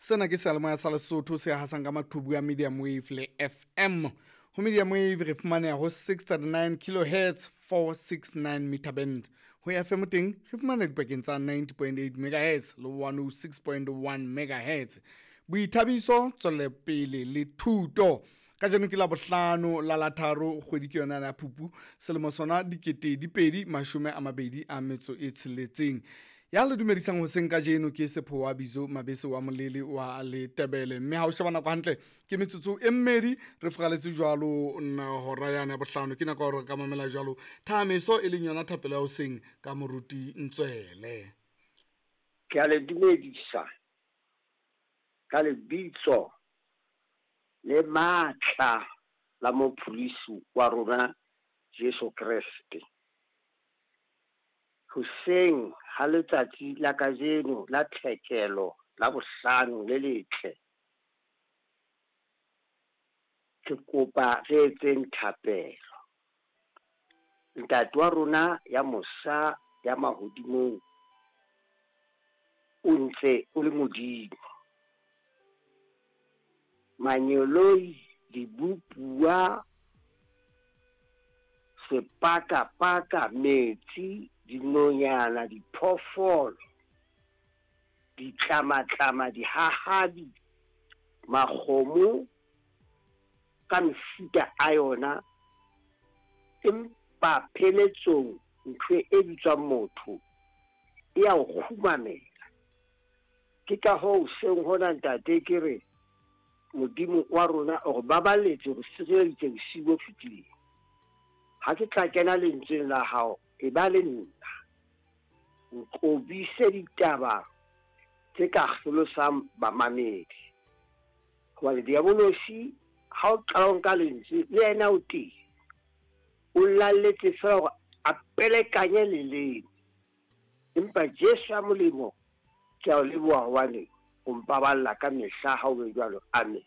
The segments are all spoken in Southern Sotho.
Sena ke seyalemoya sa Lesotho se hasang ka maqhubu a medium wave le FM. Ho medium wave re fumaneha ho 639 kilohertz 469 meter band. Ho FM teng re fumaneha dipakeng tsa 90.8 megahertz le 106.1 megahertz. Boithabiso, tswelopele le thuto. Kajeno ke la bohlano la la tharo kgwedi ke yona ya Phupu selemo sona 2026. Ya le dumedisang hoseng kajeno ke Sephowa Bizo Mabese wa Molele wa Letebele. Mme ha o sheba nako hantle ke metsotso e mmedi re furaletse jwalo na hora yane ya bohlano. Ke nako ya hore re ka mamela jwalo thahameso e leng yona thapelo ya hoseng ka moruti Ntswele. Ke a le dumedisa ka lebitso le matla la mopholosi wa rona Jesu Kreste. Hoseng ha letsatsi la kajeno la tlhekelo la bohlano le letle, ke kopa re etseng thapelo. Ntate wa rona ya mosa ya mahodimong, o ntse o le Modimo. Manyeloi, dibopuwa, sepakapaka, metsi, dinonyana, diphoofolo, ditlamatlama, dihahabi, makgomo ka mefuta a yona, empa pheletsong ntho e bitswang motho e ya o kgumamela. Ke ka hoo hoseng hona ntate ke re Modimo wa rona o re baballetse, o re sireleditse bosiu bo fetileng. Ha ke tla kena lentsweng la hao, e ba le nna. Nqobise ditaba tse ka kgelosang bamamedi. Hobane diabolosi ha o qala o nka lentswe le yena o teng. O lalletse feela hore a pelekanye leleme. Empa Jesu ya molemo ke a o leboha hobane o mpaballa ka mehla ha o be jwalo. Amen.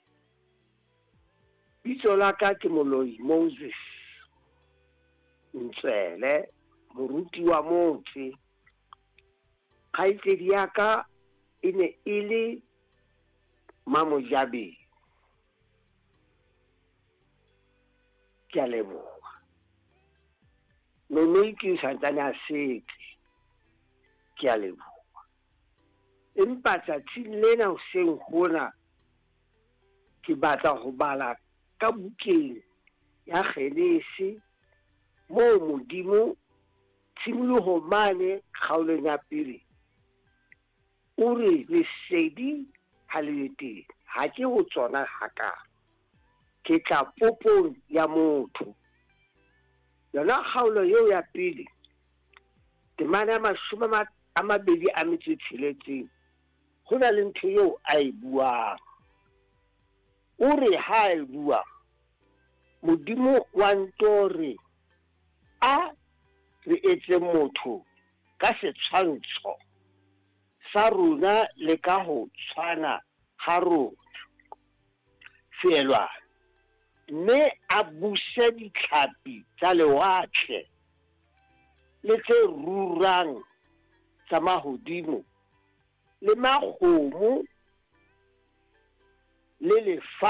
Bitso la ka ke Moloi Moses Ntswele, moruti wa motse. Kgaitsedi ya ka e ne e le Mamojabeng. Ke a leboha. Nonoi ke santsane a setse. Ke a leboha. Empa tsatsing lena hoseng hona ke batla ho bala ka bukeng ya Genese moo Modimo tshimolohong mane kgaolong ya pele o re lesedi ha le be teng. Ha ke ho tsona hakalo. Ke tla popong ya motho. Yona kgaolo eo ya pele temana ya 26 ho na le ntho eo a e buang. O re ha e bua Modimo wa nto re a re etse motho ka setshwantsho sa rona le ka ho tshwana ha rona. Feelwane. Mme a buse ditlhapi tsa lewatle le tse rurang tsa mahodimo le makgomo le lefatshe.